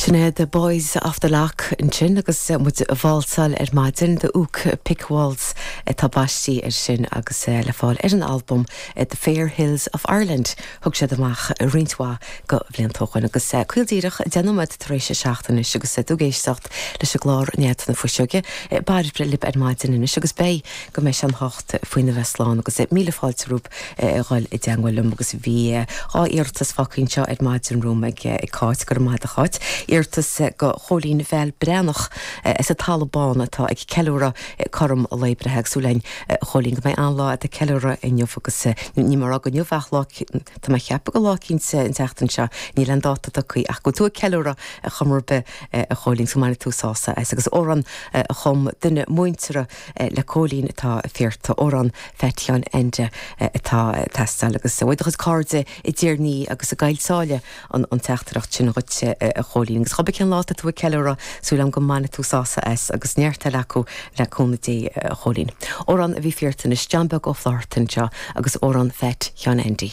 Sin é The Boys of the Lough ansin agus muid ag válsáil ar maidin, The Ook Pick Waltz atá baistí air sin agus le fáil ar an albam The Fair Hills of Ireland. Thug siad amach roinnt mhaith de bhlianta ó shoin agus caol díreach 10 nóiméad tar éis a 7 anois agus tú ag éisteacht leis an gclár Nead na Fuiseoige. Bairbre libh ar maidin anois agus beidh go mbeidh sé an hocht faoina bheith slán agus míle fáilte romhaibh a dhul i dteangmháil liom agus bhí dhá iarratas fágtha anseo ar maidin romham ag Cáit, go raibh maith agat a Cháit. Iarratas go Chóilín Bheal Breathnach as an Talamh Bán atá ag ceiliúradh cothrom a lae breithe agus súil againn a Chóilín go mbeidh an-lá agat ag ceiliúradh inniu agus ní mar rá inniu ach lá tá mé ag ceapadh gur lá eicínt an tseachtain seo, níl aon dáta tugtha ach go bhfuil tú ag ceiliúradh ar chuma ar bith a Chóilín go mbainfidh tú sásamh as agus amhrán a chum duine muinteartha le Cóilín atá iarrtha, amhrán Phat Sheáin Aindí atá ag teastáil agus uaidh do chuid cairde i dTír an Fhia agus i gCoill Sáile an teachtaireacht sin dhuit a Chóilín. Agus cibé cén lá atá tú ag ceiliúradh, súil agam go mbainfidh tú sásamh as agus neart eile acu le cúnamh Dé a Chóilín. Amhrán a bhí iarrtha anois, John Beag Ó Flaithearta anseo agus amhrán Phat Sheáin Aindí.